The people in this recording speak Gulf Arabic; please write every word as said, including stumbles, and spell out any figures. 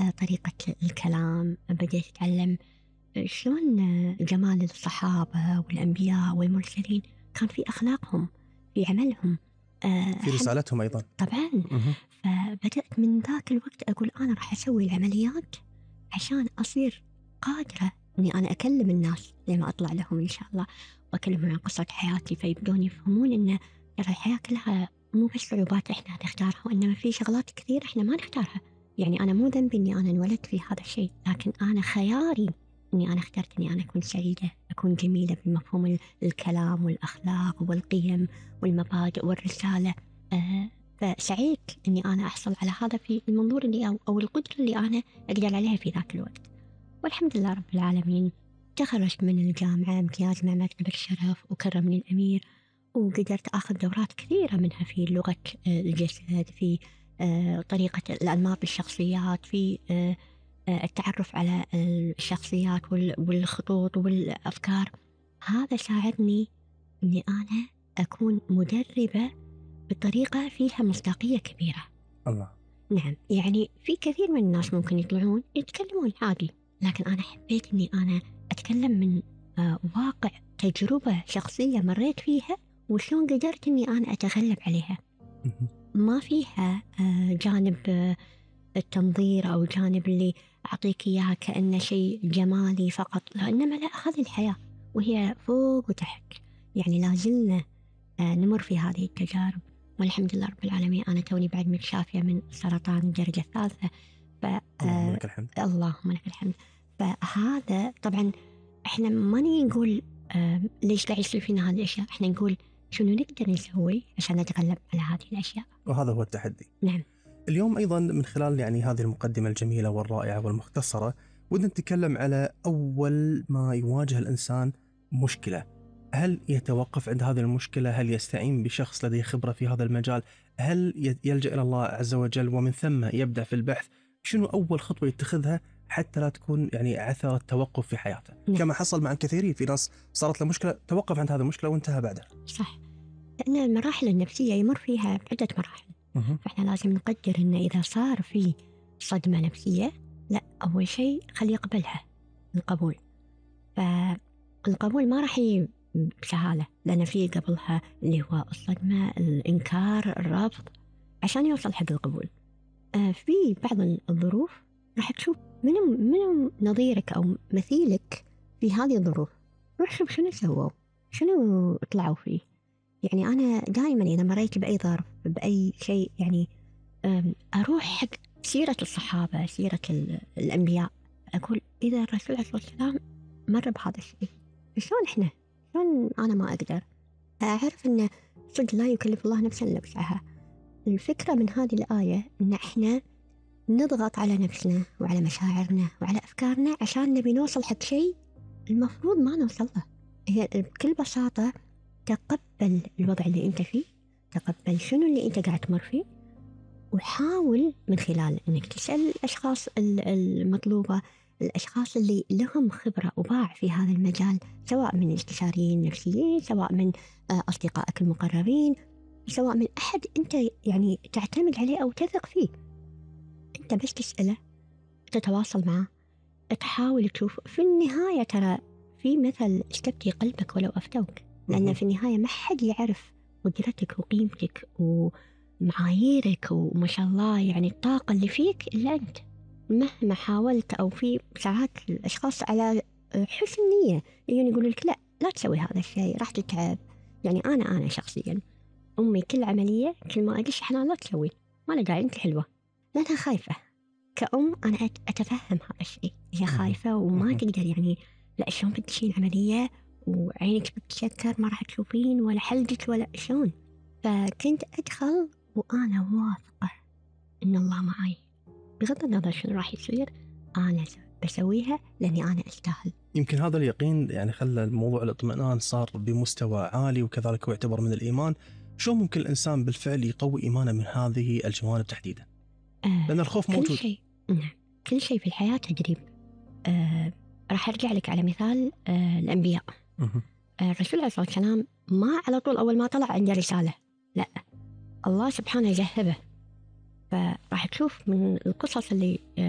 آه، طريقة الكلام، بديت أتعلم شلون آه، جمال الصحابة والأنبياء والمرسلين كان في أخلاقهم، في عملهم، آه، في رسالتهم أيضا طبعا. مه. فبدأت من ذاك الوقت أقول أنا راح أسوي العمليات عشان أصير قادرة إني أنا أكلم الناس لما أطلع لهم إن شاء الله وأكلمهم عن قصة حياتي، فيبدون يفهمون إن ترى الحياة كلها مو بس صعوبات إحنا نختارها، وإنما في شغلات كثير إحنا ما نختارها. يعني أنا مو ذنبي إني أنا انولدت في هذا الشيء، لكن أنا خياري إني أنا اخترت إني أنا أكون سعيدة، أكون جميلة بمفهوم الكلام والأخلاق والقيم والمبادئ والرسالة. آه فسعيت إني أنا أحصل على هذا في المنظور اللي أو, أو القدرة اللي أنا أقدر عليها في ذاك الوقت. والحمد لله رب العالمين تخرجت من الجامعة امتياز مع مرتبة الشرف وكرمني الأمير، وقدرت أخذ دورات كثيرة منها في لغة الجسد، في طريقة الأنماط بالشخصيات، في التعرف على الشخصيات والخطوط والأفكار. هذا ساعدني أني أنا أكون مدربة بطريقة فيها مصداقية كبيرة. الله. نعم، يعني في كثير من الناس ممكن يطلعون يتكلمون عادي، لكن أنا حبيت أني أنا أتكلم من واقع تجربة شخصية مريت فيها وشلون قدرت أني أنا أتغلب عليها. ما فيها جانب التنظير أو جانب اللي أعطيك إياها كأنه شيء جمالي فقط، لا، إنما لا، هذه الحياة وهي فوق وتحت. يعني لازلنا نمر في هذه التجارب، والحمد لله رب العالمين أنا توني بعد متشافية من سرطان الدرجة الثالثة. ف... اللهم لك الحمد. اللهم لك الحمد. فهذا طبعا إحنا ما نقول آه ليش قاعد يصير فينا هذه الأشياء، إحنا نقول شنو نقدر نسوي عشان نتغلب على هذه الأشياء، وهذا هو التحدي. نعم. اليوم أيضا من خلال يعني هذه المقدمة الجميلة والرائعة والمختصرة ودنا نتكلم على أول ما يواجه الإنسان مشكلة، هل يتوقف عند هذه المشكلة؟ هل يستعين بشخص لديه خبرة في هذا المجال؟ هل يلجأ إلى الله عز وجل ومن ثم يبدأ في البحث؟ شنو أول خطوة يتخذها حتى لا تكون يعني عثرة توقف في حياته؟ نعم. كما حصل مع الكثيرين، في ناس صارت له مشكلة توقف عند هذه المشكلة وانتهى بعدها. صح، لأن المراحل النفسية يمر فيها عدة مراحل. مه. فإحنا لازم نقدر إن إذا صار في صدمة نفسية، لا، أول شيء خلي يقبلها، القبول. فالقبول ما راح يجي بسهالة، لأن في قبلها اللي هو الصدمة، الإنكار، الرفض، عشان يوصل حق القبول. آه في بعض الظروف راح تشوف منو منو نظيرك أو مثيلك في هذه الظروف، روح شوف شنو سووا، شنو طلعوا فيه. يعني أنا دائما إذا مريت بأي ظرف بأي شيء، يعني أروح حق سيرة الصحابة، سيرة الأنبياء، أقول إذا الرسول عليه الصلاة والسلام مر بهذا الشيء، شلون إحنا، شلون أنا ما أقدر. أعرف أن صدق لا يكلف الله نفسا إلا وسعها. الفكرة من هذه الآية أن إحنا نضغط على نفسنا وعلى مشاعرنا وعلى أفكارنا عشان نبي نوصل حق شيء المفروض ما نوصل له. هي بكل بساطة تقبل الوضع اللي أنت فيه، تقبل شنو اللي أنت قاعد تمر فيه، وحاول من خلال أنك تسأل الأشخاص المطلوبة، الأشخاص اللي لهم خبرة وباع في هذا المجال، سواء من استشاريين نفسيين، سواء من أصدقائك المقربين، سواء من أحد أنت يعني تعتمد عليه أو تثق فيه. أنت بس تسأله، تتواصل معه، تحاول تشوف. في النهاية ترى في مثل استفتي قلبك ولو أفتوك، لأن في النهاية ما حد يعرف قدرتك وقيمتك ومعاييرك وما شاء الله يعني الطاقة اللي فيك إلا أنت، مهما حاولت. أو في ساعات الأشخاص على حسن نية يجون يقولوا لك لا لا تسوي هذا الشيء راح تتعب. يعني أنا أنا شخصيا أمي كل عملية كل ما أدش حنان لا تسوي، ما أنا داعي أنت حلوة، لأنها خايفة. كأم أنا أتفهم هذا الشيء، هي خايفة وما تقدر، يعني لا شلون بتشين عملية وعينك بتشكر ما راح تشوفين ولا حلقك ولا شلون. فكنت أدخل وأنا واثقة إن الله معي، بغض النظر شنو راح يصير أنا بسويها لأني أنا أستاهل. يمكن هذا اليقين يعني خلى الموضوع الاطمئنان صار بمستوى عالي، وكذلك هو يعتبر من الإيمان. شو ممكن الإنسان بالفعل يقوي إيمانه من هذه الجوانب تحديدا؟ آه لأن الخوف موجود. كل شيء، نعم، كل شيء في الحياة تجريب. آه راح أرجع لك على مثال آه الأنبياء. آه الرسول عليه الصلاة والسلام ما على طول أول ما طلع عنده رسالة، لا، الله سبحانه جهبه. فراح تشوف من القصص اللي آه